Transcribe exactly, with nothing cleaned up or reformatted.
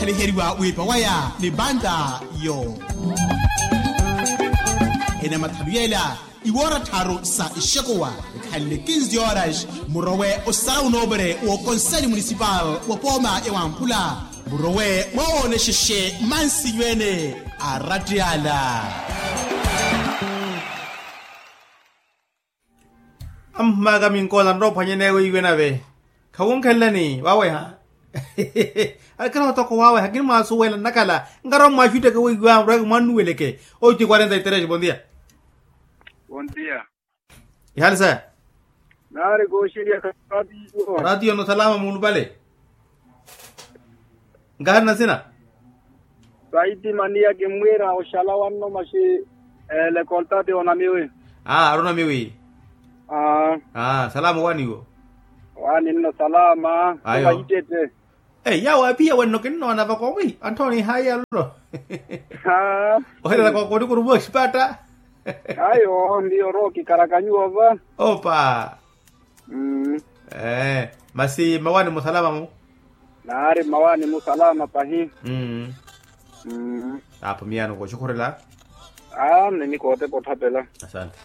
Khaliheriwa wiipa waya ni banda yo. Ene mathalu yela iwoora tharu sa ixekuwa, ekhanle kinzi horas murowe osara unoopere w'okonseli munisipal wa pooma ya wamphula, murowe mwawoonexexe mansinyu ene a ratiyala. Amphumaka minkoola nrophwanye newe iwe nave. Khawunkhelelani waweha. Akira otoko waweha kinimwasuwela nnakhala. Nkara omwaxutteke weiwa muraki mwannuweleke. Oiti quarenta y tres bondia. Bondia. Ihali saya. Nari koxiliya katiyo. Ratiyo no salama mulupale. Nkahari nasina. Saiti maniya kimmwiira oxala wanno maxi. Lekoltati onamiwi. Aa ari onamiwi. Aa. Salama owaaniwo. Owaani nno salama. Ayo. Tumahittette. Yawo apiya wenno kinnoona vakowi anthooni hayi alolo. Oherela kokonikuru mooxipatta. Ayo ndiyo oro kikarakanyiwa va. Opa. Masi mmawaani musalama mu. Naari mmawaani musalama pahi. Apo miyaano kooxukhurela. Aa nini kootepa otthapela. Asante.